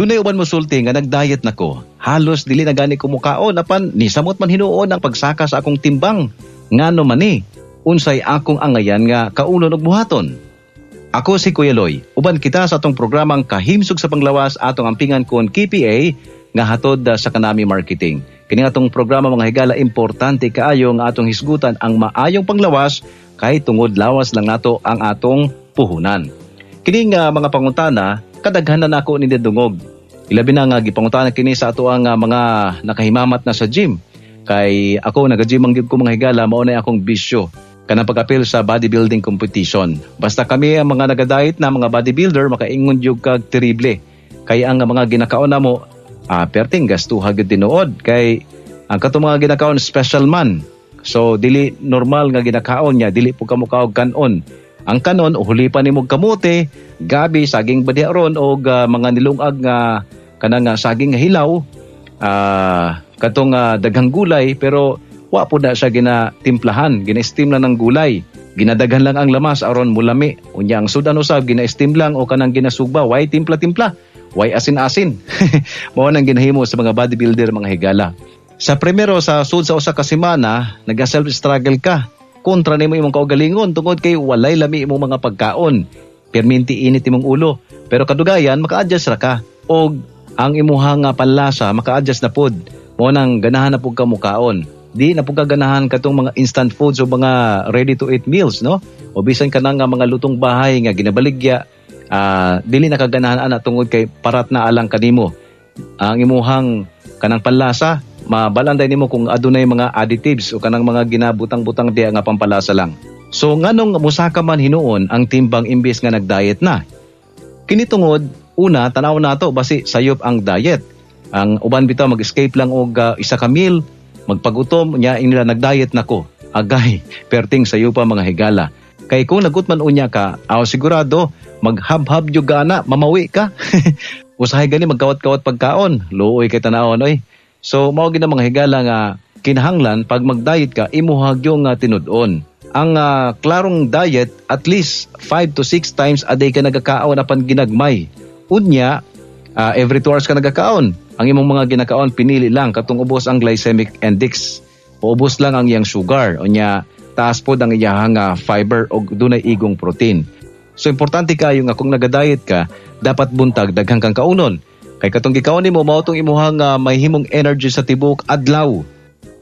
Dunay uban mosulti nga nag-diet nako. Halos dili na gani ko mukaon apan nisamot man hinuon ang pagsaka sa akong timbang. Ngano man ni? Unsay akong angayan nga kaunon og buhaton? Ako si Kuya Loy. Uban kita sa atong programang Kahimsog sa Panglawas, atong ampingan kon KPA nga hatod sa Kanami Marketing. Kini atong programa, mga higala, importante kaayo nga atong hisgutan ang maayong panglawas kay tungod lawas lang nato ang atong puhunan. Kini nga mga pangutana kadaghan na nako ni dungog. Ilabi na nga gipangutana kini sa ato ang mga nakahimamat na sa gym. Kay ako naga-gym ang gyud ko, mga higala, mao na akong bisyo kanang pag-apil sa bodybuilding competition. Basta kami ang mga naga-diet na mga bodybuilder, makaingon gyud kag terrible. Kay ang mga ginakaon namo, perting gastuha gyud tinuod kay ang katong mga ginakaon special man. So dili normal nga ginakaon niya, dili po ka mukaog kanon. Ang kanon uhulipan nimo kamote, gabi, saging ba ron og mga nilungag nga kanang saging nga hilaw, katong daghang gulay, pero wa po na siya ginatimplahan, gina-steam lang ng gulay. Ginadaghan lang ang lamas aron mulami. Unya ang sudan usab gina-steam lang o kanang ginasugba, way timpla-timpla, way asin-asin. Mao nang ginahimo sa mga bodybuilder, mga higala. Sa primero sa sud sa usa ka semana, naga self struggle ka. Kontra nimo imong kaugalingon tungod kay walay lami imong mga pagkaon. Perminti init imong ulo. Pero kadugayan maka-adjust ra ka og ang imuhang panlasa maka-adjust na pod. Mao nang ganahan na pud ka mukaon. Di na pud ka ganahan katong mga instant foods o mga ready to eat meals, no? O bisan kanang nga mga lutong bahay nga ginabaligya, dili na kaganahan ana tungod kay parat na alang kanimo. Ang imuhang kanang panlasa, mabalanday nimo kung adunay mga additives o kanang mga ginabutang-butang diya nga pampalasa lang. So nganong musaka man hinuon ang timbang imbes nga nag-diet na? Kini tungod una, tanaw nato basi sayop ang diet. Ang uban bitaw mag-escape lang og isa ka meal, magpagutom nya nila nag-diet nako. Agay, perting sayo pa, mga higala. Kay kung nagutman unya ka, aw sigurado maghabhab jud ana, mamawi ka. Usahay gani magkawat-kawat pagkaon, luoy kay tanawon oy. So mao gid mga higala nga kinahanglan pag mag-diet ka imuha gyud nga tinud-on. Ang klarong diet, at least 5 to 6 times a day ka nagakaon apan ginagmay. Unya, every 2 hours ka nagakaon. Ang imong mga ginakaon pinili lang katong ubos ang glycemic index. O ubos lang ang iyang sugar. Unya taas pod ang iyahang fiber og dunay igong protein. So importante kayo nga kung naga-diet ka, dapat buntag daghang kang kaunon. Kay katong gikaon nimo mao tong imuhang mahimong energy sa tibuok adlaw.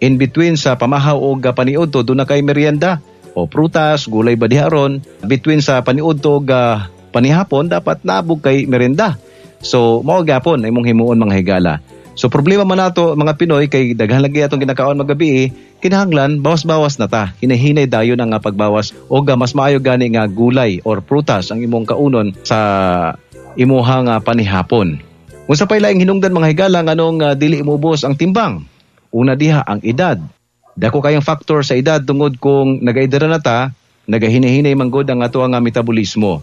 In between sa pamahaw og paniudto, doon na kay merienda o prutas, gulay ba diha ron. Between sa paniudto og panihapon, dapat nabog kay merienda. So mao gyapon imong himuon, mga higala. So problema man nato mga Pinoy kay daghan lagi atong ginakaon magabi, kinahanglan bawas-bawas na ta. Hinahinay dayon ang pagbawas og mas maayo gani nga gulay or prutas ang imong kaunon sa imuhang panihapon. Unsa pay laing hinungdan, mga higala, nganong dili imubos ang timbang? Una diha ang edad. Dako kayong factor sa edad tungod kung nagaedad na ta, nagahinahinay manggod ang ato ang metabolismo.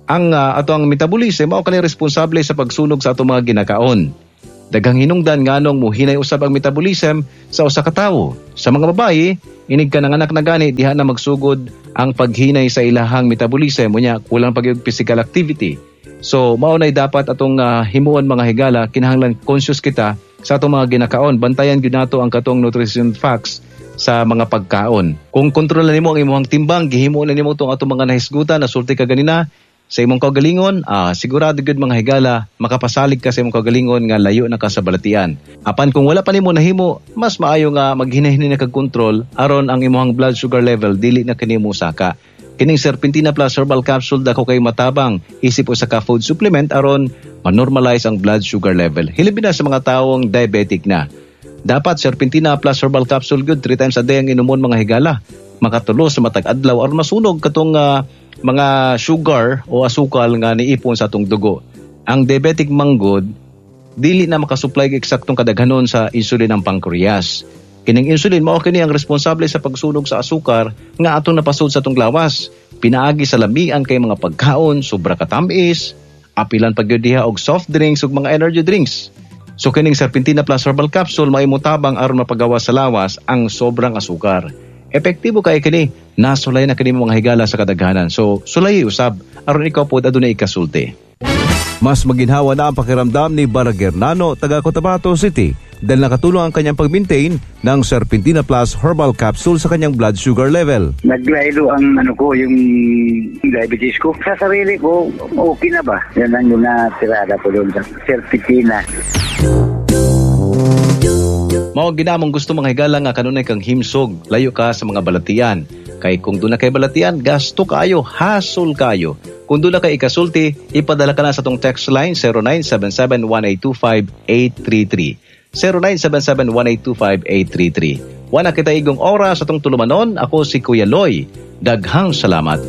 Ang ato ang metabolism mao kani responsable sa pagsunog sa ato mga ginakaon. Daghang hinungdan nganong muhinay usab ang metabolism sa usa ka tawo. Sa mga babae, inig ka nanganak na gani, diha na magsugod ang paghinay sa ilahang metabolism, unya kulang pag physical activity. So mao nay dapat atong himuon, mga higala, kinahanglan conscious kita sa atong mga ginakaon. Bantayan gyud nato ang katong nutrition facts sa mga pagkaon. Kung kontrolan nimo ang imong timbang, gihimo na nimo tong atong mga nahisgutan, nasulti ka ganina sa imong kaugalingon, sigurado gyud, mga higala, makapasalig ka sa imong kaugalingon nga layo na ka sa balatian. Apan kung wala pa nimo nahimo, mas maayo nga maghinahinay na kag kontrol aron ang imong blood sugar level dili na kini saka. Kining Serpentina Plus Herbal Capsule dako kay matabang isip usa ka food supplement aron ma-normalize ang blood sugar level. Hilabi na sa mga tawong diabetic na. Dapat Serpentina Plus Herbal Capsule good 3 times a day ang inumon, mga higala. Makatulo sa matag adlaw aron masunog katong mga sugar o asukal nga niipon sa atong dugo. Ang diabetic manggod dili na makasupply og eksaktong kadaghanon sa insulin ang pancreas. Kining insulin mao kini ang responsable sa pagsunog sa asukar nga atong napasud sa atong lawas. Pinaagi sa lamian kay mga pagkaon, sobra katamis, apilan pag diha og soft drinks ug mga energy drinks. So kining Serpentina Plus Herbal Capsule maay motabang aron mapagawa sa lawas ang sobrang asukar. Epektibo kay kini, nasulay na kini mga higala sa kadaghanan. So sulay usab aron ikaw pod adunay ikasulti. Mas maginhawa na ang pakiramdam ni Baragernano, taga Cotabato City, dahil nakatulong ang kanyang pag-maintain ng Serpentina Plus Herbal Capsule sa kanyang blood sugar level. Naglaylo ang ano ko, yung diabetes ko. Sa sarili ko, okay na ba? Yan ang yung natirada ko doon sa Serpentina. Mao ginamong gusto, mga higala, nga kanunay kang himsog, layo ka sa mga balatian. Kay kung doon na kay balatian, gasto kayo, hasol kayo. Kung doon na kay ikasulti, ipadala ka na sa tong text line 0977-1825-833. 0977-1825-833. Wala kita igong oras sa tong tulumanon. Ako si Kuya Loy. Daghang salamat.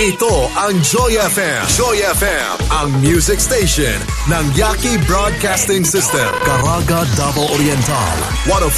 Ito ang Joy FM. Joy FM, ang music station ng Yaki Broadcasting System. Caraga, Davao Oriental. 105